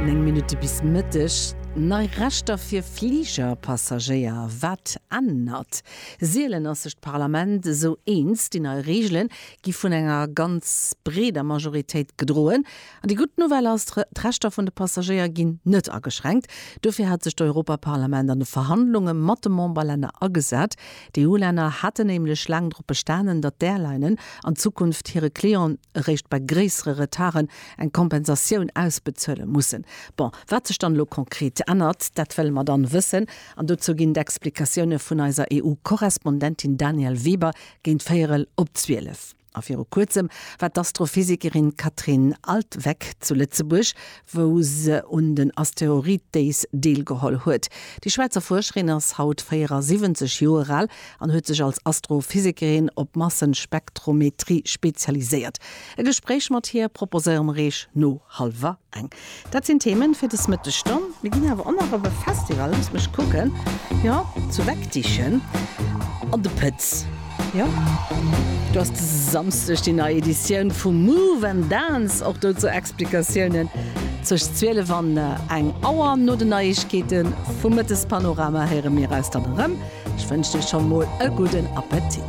9 Minutte bis Mëtteg. Nei Rechter fir Fligerpassagéier, Wat ännert? Sielen ass sech d'Parlament esou eens. Déi nei Reegele gi vun enger ganz breeder Majoritéit gedroen. An déi gutt Nouvelle ass, D'Rechter vun de Passagéier ginn net ageschränkt. Dofir hat sech d'Europaparlament an de Verhandlunge mat de Memberlänner agesat. D'EU-Länner haten nämlech laang drop bestanen, datt d'Airlinen an Zukunft hire Clienten eréischt bei gréissere Retarden eng Kompensatioun ausbezuele mussen. Bon, wat sech dann elo konkret ännert, dat wëlle mer dann wëssen. An dozou ginn d'Explikatioune vun eiser EU-Korrespondentin Danièle Weber géint véierel op 12. A viru kuerzem war d'Astrophysikerin Katrin Altwegg zu Lëtzebuerg, wou se un den Asteroid Days deelgeholl huet. Déi Schwäizer Fuerscherin ass haut 74 Joer al an huet sech als Astrophysikerin op Massenspektrometrie spezialiséiert. E Gespréich mat hir proposéiere mer Iech no hallwer eng. Dat sinn d'Themen fir des Mëttesstonn. Mir ginn awer och nach op e Festival, loosst mech kucken, jo, zu Wegdichen an de Pëtz. Jo, do ass de Samsdeg déi nei Editioun vu Move and Dance. Och dozou Explikatiounen zwëscht 12 an eng Auer. No den Neiegkeete vum Mëttespanorama héiere mir eis dann erëm. Ech wënschen iech scho mol e gudden Appetit.